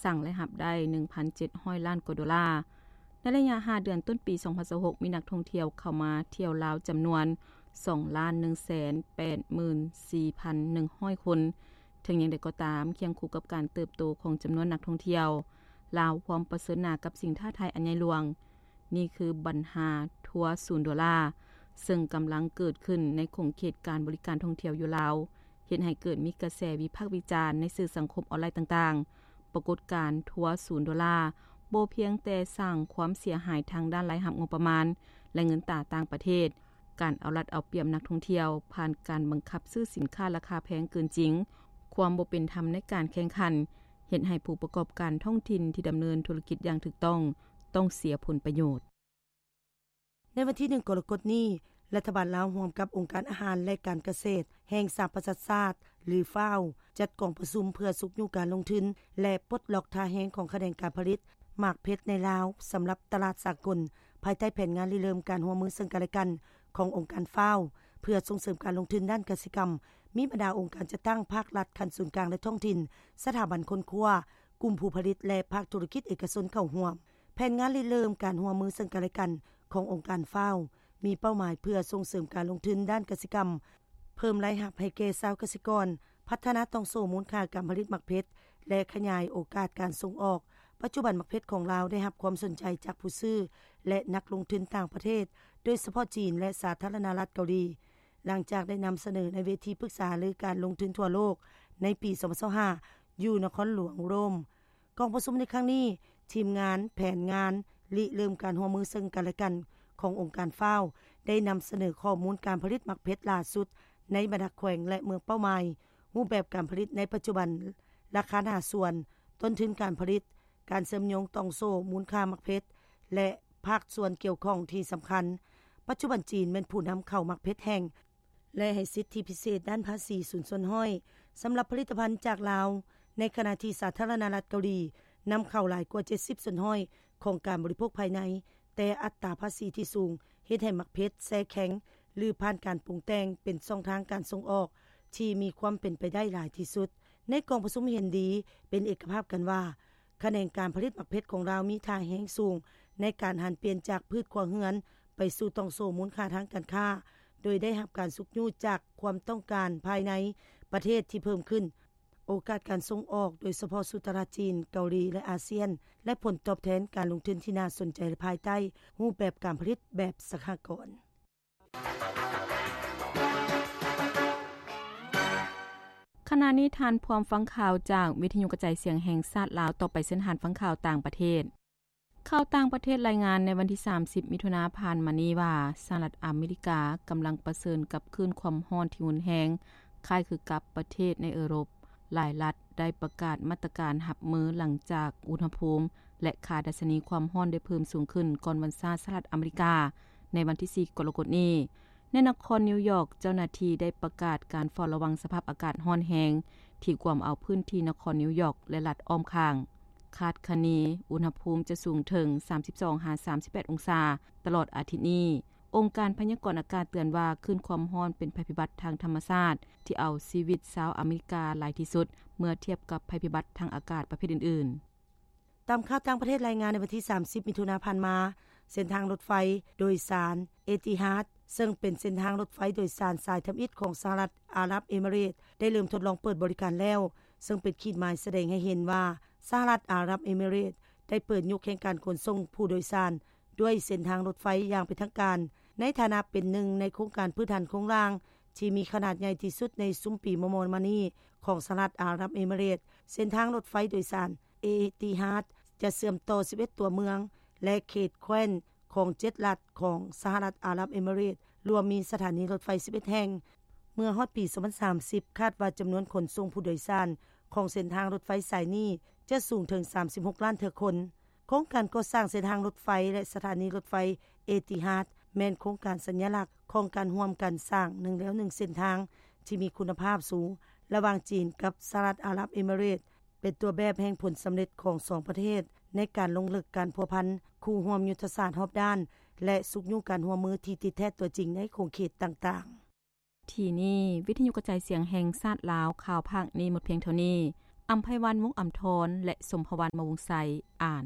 ສ້າງລາຍຮັບໄດ້ ໜຶ່ງພັນເຈັດຮ້ອຍລ້ານກວ່າໂດລາ. ໃນໄລຍະຫ້າເດືອນຕົ້ນປີສອງພັນຊາວຫົກ ມີນັກທ່ອງທ່ຽວເຂົ້າມາທ່ຽວລາວຈຳນວນ ສອງລ້ານໜຶ່ງແສນແປດໝື່ນສີ່ພັນໜຶ່ງຮ້ອຍຄົນ. ເຖິງຢ່າງໃດກໍຕາມ, ຄຽງຄູ່ກັບການເຕີບໂຕຂອງຈຳນວນນັກທ່ອງທ່ຽວ, ລາວພ້ອມປະເຊີນໜ້າກັບສິ່ງທ້າທາຍອັນໃຫຍ່ຫຼວງ. ນີ້ຄືບັນຫາທົວສູນໂດລາ, ເຊິ່ງກຳລັງເກີດຂຶ້ນໃນຂົງເຂດການບໍລິການທ່ອງທ່ຽວຢູ່ລາວ, ເຮັດໃຫ້ເກີດມີກະແສວິພາກວິຈານໃນສື່ສັງຄົມອອນລາຍຕ່າງໆ. ປາກົດການທົວສູນໂດລາ ບໍ່ພຽງແຕ່ສ້າງຄວາມເສຍຫາຍທາງດ້ານລາຍຮັບງົບປະມານ ແລະ ເງິນຕາຕ່າງປະເທດ, ການເອົາລັດເອົາປຽບນັກທ່ອງທ່ຽວ ຜ່ານການບັງຄັບຊື້ສິນຄ້າລາຄາແພງເກີນຈິງ, ຄວາມບໍ່ເປັນທຳໃນການແຂ່ງຂັນ, ເຮັດໃຫ້ຜູ້ປະກອບການທ້ອງຖິ່ນທີ່ດຳເນີນທຸລະກິດຢ່າງຖືກຕ້ອງ ຕ້ອງເສຍຜົນປະໂຫຍດ. ໃນວັນທີໜຶ່ງ ກໍລະກົດນີ້, ລັດຖະບານລາວຮ່ວມກັບອົງການອາຫານ ແລະ ການກະເສດແຫ່ງສະຫະປະຊາຊາດ ຫຼື FAO ຈັດກອງປະຊຸມເພື່ອຊຸກຍູ້ການລົງທຶນ ແລະ ປົດລັອກທ່າແຮງຂອງຂະແໜງການຜະລິດໝາກເພັດໃນລາວ ສຳລັບຕະຫຼາດສາກົນ, ພາຍໃຕ້ແຜນງານລິເລີ່ມການຮ່ວມມືເຊິ່ງກັນ ແລະ ກັນຂອງອົງການ FAO ເພື່ອສົ່ງເສີມການລົງທຶນດ້ານກະສິກຳ, ມີບັນດາອົງການຈັດຕັ້ງພາກລັດຂັ້ນສູນກາງ ແລະ ທ້ອງຖິ່ນ, ສະຖາບັນຄົ້ນຄວ້າ, ກຸ່ມຜູ້ຜະລິດ ແລະ ພາກທຸລະກິດເອກະຊົນເຂົ້າຮ່ວມ. ແຜນງານລິເລີ່ມການຮ່ວມມືເຊິ່ງກັນ ແລະ ກັນຂອງອົງການ FAO ມີເປົ້າໝາຍເພື່ອສົ່ງເສີມການລົງທຶນດ້ານກະສິກຳ, ເພີ່ມລາຍຮັບໃຫ້ແກ່ຊາວກະສິກອນ, ພັດທະນາຕ່ອງໂສ້ມູນຄ່າການຜະລິດໝາກເພັດ ແລະ ຂະຫຍາຍໂອກາດການສົ່ງອອກ. ປັດຈຸບັນໝາກເພັດຂອງລາວໄດ້ຮັບຄວາມສົນໃຈຈາກຜູ້ຊື້ ແລະ ນັກລົງທຶນຕ່າງປະເທດ, ໂດຍສະເພາະຈີນ ແລະ ສາທາລະນະລັດເກົາຫຼີ, ຫຼັງຈາກໄດ້ນຳສະເໜີໃນເວທີປຶກສາຫາລືການລົງທຶນທົ່ວໂລກໃນປີສອງພັນຊາວຫ້າ ຢູ່ນະຄອນຫຼວງໂຣມ. ກອງປະຊຸມໃນຄັ້ງນີ້, ທີມງານແຜນງານລິເລີ່ມການຮ່ວມມືເຊິ່ງກັນ ແລະ ກັນຂອງອົງການ FAO ໄດ້ນຳສະເໜີຂໍ້ມູນການຜະລິດໝາກເພັດຫຼ້າສຸດໃນບັນດາແຂວງ ແລະ ເມືອງເປົ້າໝາຍ, ຮູບແບບການຜະລິດໃນປັດຈຸບັນ, ລາຄາໜ້າສວນ, ຕົ້ນທຶນການຜະລິດ, ການເຊື່ອມໂຍງຕ່ອງໂສ້ມູນຄ່າໝາກເພັດ ແລະ ພາກສ່ວນກ່ຽວຂ້ອງທີ່ສຳຄັນ. ປັດຈຸບັນຈີນແມ່ນຜູ້ນຳເຂົ້າໝາກເພັດແຫ້ງ ແລະ ໃຫ້ສິດທິພິເສດດ້ານພາສີສູນສ່ວນຮ້ອຍສຳລັບຜະລິດຕະພັນຈາກລາວ, ໃນຂະນະທີ່ສາທາລະນະລັດເກົາຫຼີນຳເຂົ້າຫຼາຍກວ່າເຈັດສິບສ່ວນຮ້ອຍຂອງການບໍລິໂພກພາຍໃນ, ແຕ່ອັດຕາພາສີທີ່ສູງເຮັດໃຫ້ໝາກເພັດແຊ່ແຂງ ຫຼື ຜ່ານການປຸງແຕ່ງເປັນຊ່ອງທາງການສົ່ງອອກທີ່ມີຄວາມເປັນໄປໄດ້ຫຼາຍທີ່ສຸດ. ໃນກອງປະຊຸມເຫັນດີເປັນເອກະພາບກັນວ່າ ຂະແໜງການຜະລິດໝາກເພັດຂອງລາວມີທ່າແຮງສູງໃນການຫັນປ່ຽນຈາກພືດຄົວເຮືອນໄປສູ່ຕ່ອງໂສ້ມູນຄ່າທາງການຄ້າ, ໂດຍໄດ້ຮັບການຊຸກຍູ້ຈາກຄວາມຕ້ອງການພາຍໃນປະເທດທີ່ເພີ່ມຂຶ້ນ, ໂອກາດການສົ່ງອອກ, ໂດຍສະເພາະສູ່ຕະຫຼາດຈີນ, ເກົາຫຼີ ແລະ ອາຊຽນ, ແລະ ຜົນຕອບແທນການລົງທຶນທີ່ໜ້າສົນໃຈພາຍໃຕ້ຮູບແບບການຜະລິດແບບສະຫະກອນ. ຂະນະນີ້ທ່ານພ້ອມຟັງຂ່າວຈາກວິທະຍຸກະຈາຍສຽງແຫ່ງຊາດລາວ, ຕໍ່ໄປເຊີນທ່ານຟັງຂ່າວຕ່າງປະເທດ. ຂ່າວຕ່າງປະເທດລາຍງານໃນວັນທີສາມສິບ ມິຖຸນາຜ່ານມານີ້ວ່າ, ສະຫະລັດອາເມລິກາກຳລັງປະເຊີນກັບຄື້ນຄວາມຮ້ອນທີ່ຮຸນແຮງ, ຄ້າຍຄືກັບປະເທດໃນເອີຣົບ. ຫຼາຍລັດໄດ້ປະກາດມາດຕະການຮັບມືຫຼັງຈາກອຸນຫະພູມ ແລະ ຄ່າດັດຊະນີຄວາມຮ້ອນໄດ້ເພີ່ມສູງຂຶ້ນກ່ອນວັນຊາດສະຫະລັດອາເມລິກາ ໃນວັນທີສີ່ ກໍລະກົດນີ້. ໃນນະຄອນນິວຢອກ, ເຈົ້າໜ້າທີ່ໄດ້ປະກາດການເຝົ້າລະວັງສະພາບອາກາດຮ້ອນແຮງ ທີ່ກວມເອົາພື້ນທີ່ນະຄອນນິວຢອກ ແລະ ລັດອ້ອມຂ້າງ. ຄາດຄະເນອຸນຫະພູມຈະສູງເຖິງສາມສິບສອງຫາສາມສິບແປດອົງສາຕະຫຼອດອາທິດນີ້. ອົງການພະຍາກອນອາກາດເຕືອນວ່າ, ຄື້ນຄວາມຮ້ອນເປັນໄພພິບັດທາງທຳມະຊາດທີ່ເອົາຊີວິດຊາວອາເມລິກາຫຼາຍທີ່ສຸດ ເມື່ອທຽບກັບໄພພິບັດທາງອາກາດປະເພດອື່ນໆ. ຕາມຂ່າວຕ່າງປະເທດລາຍງານໃນວັນທີສາມສິບ ມິຖຸນາຜ່ານມາ, ເສັ້ນທາງລົດໄຟໂດຍສານເອຕິຮາດ ເຊິ່ງເປັນເສັ້ນທາງລົດໄຟໂດຍສານສາຍທຳອິດຂອງສະຫະລັດອາຣັບເອມິເຣດ ໄດ້ເລີ່ມທົດລອງເປີດບໍລິການແລ້ວ, ເຊິ່ງເປັນຂີດໝາຍສະແດງໃຫ້ເຫັນວ່າ ສະຫະລັດອາຣັບເອມິເຣດໄດ້ເປີດຍຸກແຫ່ງການຂົນສົ່ງຜູ້ໂດຍສານດ້ວຍເສັ້ນທາງລົດໄຟຢ່າງເປັນທາງການ, ໃນຖານະເປັນໜຶ່ງໃນໂຄງການພື້ນຖານໂຄງລ່າງທີ່ມີຂະໜາດໃຫຍ່ທີ່ສຸດໃນຊຸມປີມໍ່ໆມານີ້ຂອງສະຫະລັດອາຣັບເອມິເຣດ. ເສັ້ນທາງລົດໄຟໂດຍສານເອຕິຮາດຈະເຊື່ອມຕໍ່ສິບເອັດຕົວເມືອງ ແລະ ເຂດແຄວ້ນຂອງເຈັດລັດຂອງສະຫະລັດອາຣັບເອມິເຣດ, ລວມມີສະຖານີລົດໄຟສິບເອັດແຫ່ງ. ເມື່ອຮອດປີສອງພັນສາມສິບ ຄາດວ່າຈຳນວນຂົນສົ່ງຜູ້ໂດຍສານຂອງເສັ້ນທາງລົດໄຟສາຍນີ້ຈະສູງເຖິງສາມສິບຫົກລ້ານເທື່ອຄົນ. ໂຄງການກໍ່ສ້າງເສັ້ນທາງລົດໄຟ ແລະ ສະຖານີລົດໄຟເອຕິຮາດ ແມ່ນໂຄງການສັນຍະລັກຂອງການຮ່ວມກັນສ້າງໜຶ່ງແລວໜຶ່ງເສັ້ນທາງທີ່ມີຄຸນນະພາບສູງລະຫວ່າງຈີນກັບສະຫະລັດອາຣັບເອມິເຣດ, ເປັນຕົວແບບແຫ່ງຜົນສຳເລັດຂອງສອງປະເທດໃນການລົງເລິກການພົວພັນຄູ່ຮ່ວມຍຸດທະສາດຮອບດ້ານ ແລະ ຊຸກຍູ້ການຮ່ວມມືທີ່ຕິດແທດຕົວຈິງໃນຂົງເຂດຕ່າງໆ. ທີ່ນີ້ ວິທະຍຸກະຈາຍສຽງແຫ່ງຊາດລາວ, ຂ່າວພາກນີ້ໝົດພຽງເທົ່ານີ້. ອຳໄພວັນ ວົງອຳທອນ ແລະ ສົມພະວັນ ມະວົງໄຊ ອ່ານ.